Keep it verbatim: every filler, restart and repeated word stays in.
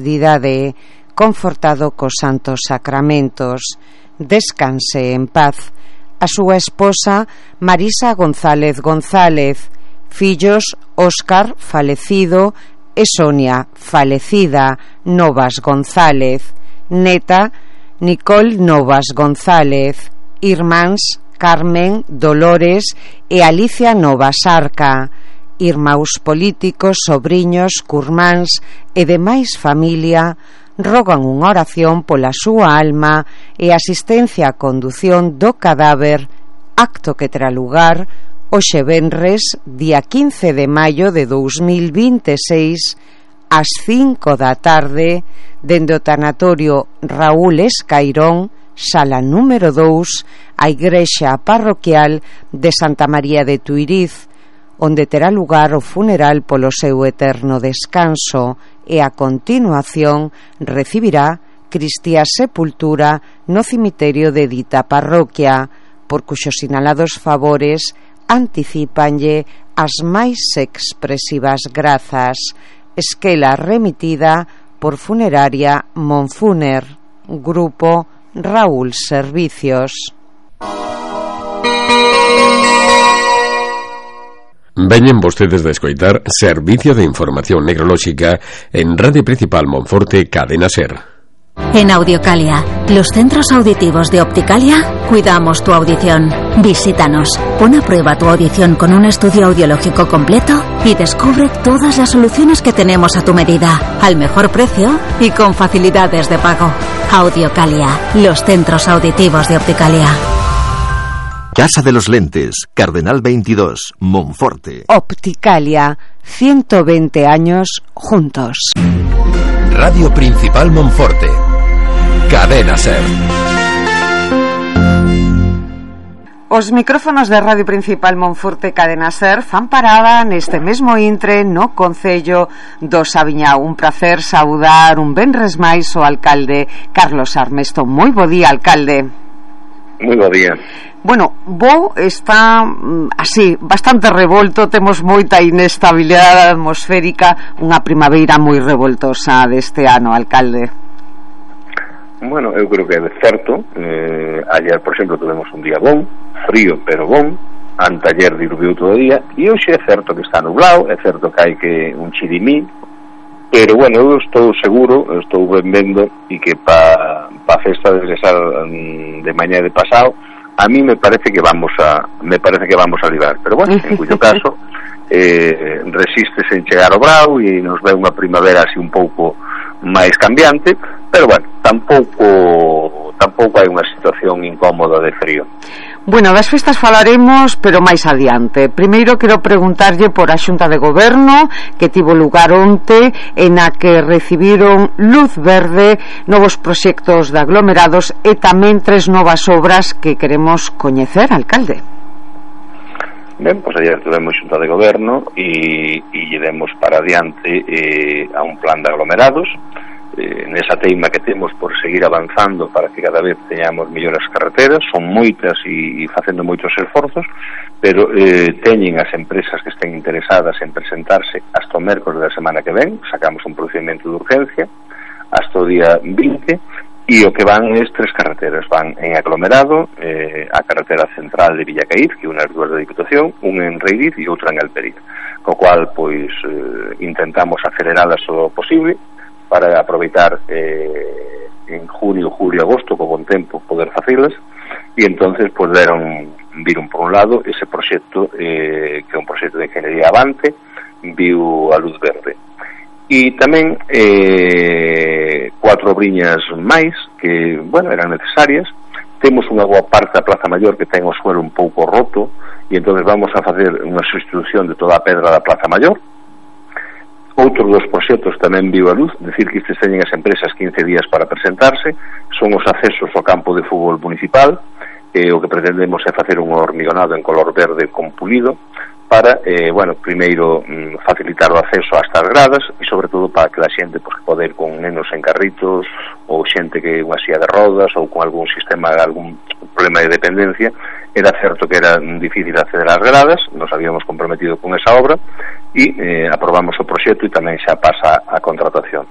eternidade, confortado cos santos sacramentos. Descanse en paz. A súa esposa Marisa González González, fillos Óscar, falecido, e Sonia, falecida, Novas González, neta Nicole Novas González, irmáns Carmen, Dolores e Alicia Novas Arca, irmãos políticos, sobriños, curmáns e demais familia rogan unha oración pola súa alma e asistencia á condución do cadáver, acto que terá lugar hoxe venres, día quince de maio de dous mil vinte e seis, ás cinco da tarde, dende o tanatorio Raúl Escairón, sala número dous, a igrexa parroquial de Santa María de Tuiriz, onde terá lugar o funeral polo seu eterno descanso e a continuación recibirá Cristiá sepultura no cemiterio de dita parroquia, por cuxos sinalados favores anticípanlle as máis expresivas grazas. Esquela remitida por Funeraria Monfuner, Grupo Raúl Servicios. Veñen vostedes de escoitar Servicio de Información Necrolóxica en Radio Principal Monforte, Cadena SER. En Audiocalia, los centros auditivos de Opticalia, cuidamos tu audición. Visítanos, pon a prueba tu audición con un estudio audiológico completo y descubre todas las soluciones que tenemos a tu medida, al mejor precio y con facilidades de pago. Audiocalia, los centros auditivos de Opticalia. Casa de los Lentes, Cardenal veintidós, Monforte. Opticalia, ciento veinte años juntos. Radio Principal Monforte, Cadena SER. Os micrófonos de Radio Principal Monforte, Cadena SER fan parada neste mesmo intre no Concello do Sabiñao. Un placer saudar un venres máis o alcalde Carlos Armesto. Moi bo día, alcalde. Moi bo día. Bueno, Bo está así, bastante revolto, temos moita inestabilidade atmosférica, unha primaveira moi revoltosa deste ano, alcalde. Bueno, eu creo que é certo. eh, Ayer, por exemplo, tuvemos un día bon, frío pero bon. Anteayer diluviu todo o día. E hoxe é certo que está nublado, é certo que hai que un chirimí. Pero, bueno, eu estou seguro, eu estou ben vendo, e que pa, pa festa de regresar de mañá de pasado, a mí me parece que vamos a me parece que vamos a librar, pero bueno, en cuyo caso eh, resiste sen chegar ao brao e nos ve unha primavera así un pouco máis cambiante, pero bueno, tampouco tampouco hai unha situación incómoda de frío. Bueno, das festas falaremos, pero máis adiante. Primeiro quero preguntarlle por a Xunta de Goberno que tivo lugar onte, en a que recibiron luz verde novos proxectos de aglomerados e tamén tres novas obras que queremos coñecer, alcalde. Ben, pois ayer tuvemos Xunta de Goberno e, e llevemos para adiante eh, a un plan de aglomerados. Eh, nesa teima que temos por seguir avanzando para que cada vez teñamos mellores carreteras, son moitas e, e facendo moitos esforzos, pero eh, teñen as empresas que estén interesadas en presentarse hasta o mércores da semana que ven. Sacamos un procedimento de urgencia hasta o día vinte, e o que van es tres carreteras, van en aglomerado, eh, a carretera central de Villacaíz, que unha das dúas da Diputación, unha en Reiriz e outra en Alperiz, co cual pois eh, intentamos aceleralas o posible para aproveitar eh, en junio, julio, agosto, co bon tempo, poder facelas, e entonces pues, deron, viron por un lado ese proxecto eh, que é un proxecto de ingeniería avante, viu a luz verde. E tamén eh, cuatro obriñas máis que, bueno, eran necesarias. Temos unha boa parte da Plaza Maior que ten o suelo un pouco roto, e entonces vamos a facer unha sustitución de toda a pedra da Plaza Maior. Outros dos proxectos tamén viu a luz, decir que estes teñen as empresas quince días para presentarse, son os accesos ao campo de fútbol municipal, e o que pretendemos é facer un hormigonado en color verde con pulido, para, eh, bueno, primeiro mm, facilitar o acceso ás gradas, e sobre todo para que a xente pues, pode ir con nenos en carritos, ou xente que unha silla de rodas, ou con algún sistema, algún problema de dependencia. Era certo que era difícil acceder ás gradas, nos habíamos comprometido con esa obra, e eh, aprobamos o proxecto e tamén xa pasa a contratación.